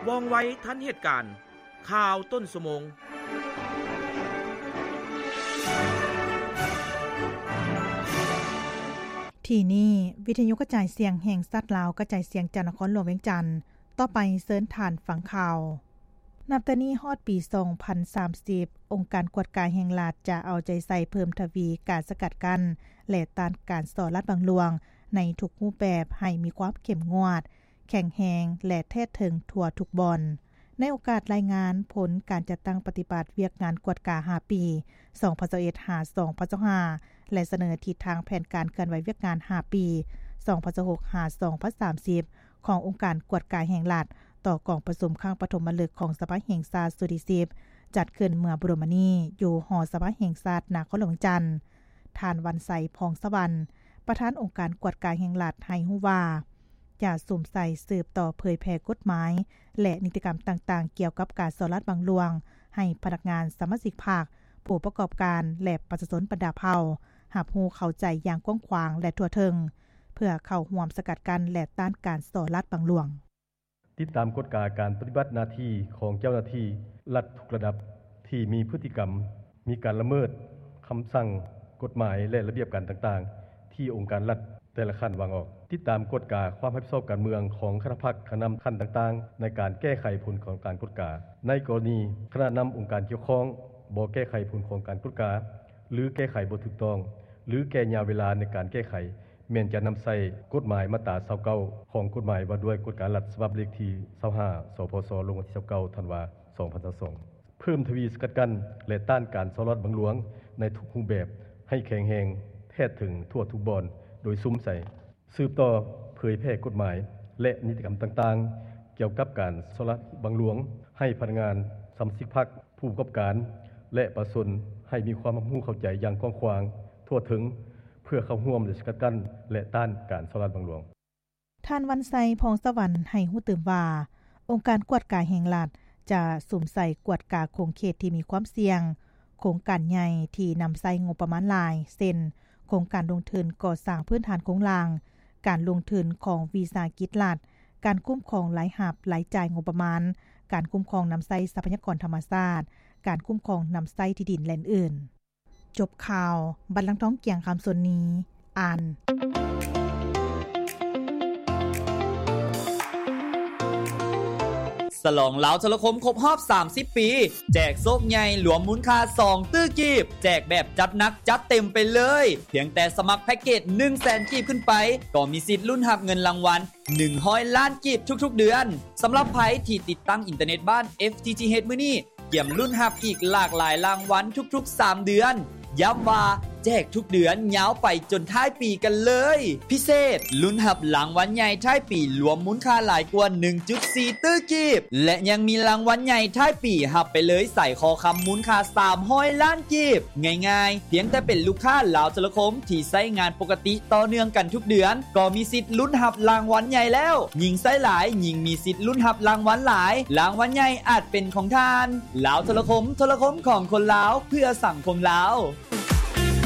ວ່ອງໄວທັນເຫດການ. ຂ່າວຕົ້ນຊົ່ວໂມງ. ທີ່ນີ້ ວິທະຍຸກະຈາຍສຽງແຫ່ງຊາດລາວ ກະຈາຍສຽງຈາກນະຄອນຫຼວງວຽງຈັນ. ຕໍ່ໄປເຊີນທ່ານຟັງຂ່າວ. ນັບແຕ່ນີ້ຮອດປີສອງພັນສາມສິບ ອົງການກວດກາແຫ່ງລັດຈະເອົາໃຈໃສ່ເພີ່ມທະວີການສະກັດກັ້ນ ແລະ ຕ້ານການສໍ້ລາດບັງຫຼວງໃນທຸກຮູບແບບໃຫ້ມີຄວາມເຂັ້ມງວດ, ແຂງແຮງ ແລະ ແທດເຖິງທົ່ວທຸກບ່ອນ. ໃນໂອກາດລາຍງານຜົນການຈັດຕັ້ງປະຕິບັດວຽກງານກວດກາຫ້າປີ ສອງພັນຊາວເອັດ ຫາ ສອງພັນຊາວຫ້າ ແລະ ສະເໜີທິດທາງແຜນການເຄື່ອນໄຫວວຽກງານຫ້າປີ ສອງພັນຊາວຫົກ ຫາ ສອງພັນສາມສິບ ຂອງອົງການກວດກາແຫ່ງລັດ ຕໍ່ກອງປະຊຸມຄັ້ງປະຖົມມະລຶກຂອງສະພາແຫ່ງຊາດຊຸດທີສິບ ຈັດຂຶ້ນເມື່ອບໍ່ດົນມານີ້ຢູ່ຫໍສະພາແຫ່ງຊາດນະຄອນຫຼວງວຽງຈັນ. ທ່ານ ວັນໄຊ ພອງສະຫວັນ ປະທານອົງການກວດກາແຫ່ງລັດ ໃຫ້ຮູ້ວ່າ ຈະສຸມໃສ່ສືບຕໍ່ເຜີຍແຜ່ກົດໝາຍ ແລະ ນິຕິກຳຕ່າງໆ ກ່ຽວກັບການສໍ້ລາດບັງຫຼວງ ໃຫ້ພະນັກງານ, ສະມາຊິກພັກ, ຜູ້ປະກອບການ ແລະ ປະຊາຊົນບັນດາເຜົ່າ ຮັບຮູ້ເຂົ້າໃຈຢ່າງກວ້າງຂວາງ ແລະ ທົ່ວເຖິງ ເພື່ອເຂົ້າຮ່ວມສະກັດກັ້ນ ແລະ ຕ້ານການສໍ້ລາດບັງຫຼວງ. ຕິດຕາມກວດກາການປະຕິບັດໜ້າທີ່ຂອງເຈົ້າໜ້າທີ່ລັດທຸກລະດັບ ທີ່ມີພຶດຕິກຳມີການລະເມີດຄຳສັ່ງ, ກົດໝາຍ ແລະ ລະບຽບການຕ່າງໆ ທີ່ອົງການລັດແຕ່ລະຂັ້ນວາງອອກ. ຕິດຕາມກວດກາຄວາມຮັບຜິດຊອບການເມືອງຂອງຄະນະພັກ, ຄະນະນຳຂັ້ນຕ່າງໆ ໃນການແກ້ໄຂຜົນຂອງການກວດກາ. ໃນກໍລະນີຄະນະນຳອົງການກ່ຽວຂ້ອງບໍ່ແກ້ໄຂຜົນຂອງການກວດກາ ຫຼື ແກ້ໄຂບໍ່ຖືກຕ້ອງ ຫຼື ແກ່ຍາວເວລາໃນການແກ້ໄຂ ແມ່ນຈະນຳໃຊ້ກົດໝາຍມາດຕາຊາວເກົ້າ ຂອງກົດໝາຍວ່າດ້ວຍກວດກາລັດ ສະບັບເລກທີຊາວຫ້າ ສພຊ ລົງວັນທີຊາວເກົ້າ ທັນວາ ສອງພັນຊາວສອງ ເພີ່ມທະວີສະກັດກັ້ນ ແລະ ຕ້ານການສໍ້ລາດບັງຫຼວງໃນທຸກຮູບແບບ ໃຫ້ແຂງແຮງ, ແທດເຖິງທົ່ວທຸກບ່ອນ ໂດຍສຸມໃສ່ ສືບຕໍ່ເຜີຍແຜ່ກົດໝາຍ ແລະ ນິຕິກຳຕ່າງໆ ກ່ຽວກັບການສໍ້ລາດບັງຫຼວງ ໃຫ້ພະນັກງານ, ສະມາຊິກພັກ, ຜູ້ປະກອບການ ແລະ ປະຊາຊົນ ໃຫ້ມີຄວາມຮັບຮູ້ເຂົ້າໃຈຢ່າງກວ້າງຂວາງ, ທົ່ວເຖິງ ເພື່ອເຂົ້າຮ່ວມ ແລະ ສະກັດກັ້ນ ແລະ ຕ້ານການສໍ້ລາດບັງຫຼວງ. ທ່ານ ວັນໄຊ ພອງສະຫວັນ ໃຫ້ຮູ້ຕື່ມວ່າ ອົງການກວດກາແຫ່ງລັດ ຈະສຸມໃສ່ກວດກາຂົງເຂດທີ່ມີຄວາມສ່ຽງ, ໂຄງການໃຫຍ່ທີ່ນຳໃຊ້ງົບປະມານຫຼາຍ ເຊັ່ນ ໂຄງການລົງທຶນກໍ່ສ້າງພື້ນຖານໂຄງລ່າງ, ການລົງທຶນຂອງວິສາຫະກິດລັດ, ການຄຸ້ມຄອງລາຍຮັບ, ລາຍຈ່າຍງົບປະມານ, ການຄຸ້ມຄອງນຳໃຊ້ຊັບພະຍາກອນທຳມະຊາດ, ການຄຸ້ມຄອງນຳໃຊ້ທີ່ດິນ ແລະ ອື່ນໆ. ຈົບຂ່າວ, ບັນລັງທອງ ກຽງຄຳ ສ່ວນນີ້ ອ່ານ. ສະຫຼອງລາວໂທລະຄົມຄົບຮອບສາມສິບປີ ແຈກໂຊກໃຫຍ່ລວມມູນຄ່າສອງຕື້ກີບ, ແຈກແບບຈັດໜັກຈັດເຕັມໄປເລີຍ. ພຽງແຕ່ສະໝັກແພັກເກດໜຶ່ງແສນກີບຂຶ້ນໄປ ກໍມີສິດລຸ້ນຮັບເງິນລາງວັນໜຶ່ງຮ້ອຍລ້ານກີບທຸກໆເດືອນ. ສຳລັບໃຜທີ່ຕິດຕັ້ງອິນເຕີເນັດບ້ານ ເອັຟທີທີເອັດ ມື້ນີ້ ກຽມລຸ້ນຮັບອີກຫຼາກຫຼາຍລາງວັນທຸກໆສາມເດືອນ. ຢ້ຳວ່າແຈກທຸກເດືອນຍາວໄປຈົນທ້າຍປີກັນເລີຍ. ພິເສດ, ລຸ້ນຮັບລາງວັນໃຫຍ່ທ້າຍປີລວມມູນຄ່າຫຼາຍກວ່າໜຶ່ງຈຸດສີ່ຕື້ກີບ ແລະ ຍັງມີລາງວັນໃຫຍ່ທ້າຍປີຮັບໄປເລີຍສາຍຄໍຄຳມູນຄ່າສາມຮ້ອຍລ້ານກີບ. ງ່າຍໆ, ພຽງແຕ່ເປັນລູກຄ້າລາວໂທລະຄົມທີ່ໃຊ້ງານປົກກະຕິຕໍ່ເນື່ອງກັນທຸກເດືອນ ກໍມີສິດລຸ້ນຮັບລາງວັນໃຫຍ່ແລ້ວ. ຍິ່ງໃຊ້ຫຼາຍ, ຍິ່ງມີສິດລຸ້ນຮັບລາງວັນຫຼາຍ. ລາງວັນໃຫຍ່ອາດເປັນຂອງທ່ານ. ລາວໂທລະຄົມ, ໂທລະຄົມຂອງຄົນລາວ, ເພື່ອສັງຄົມລາວ.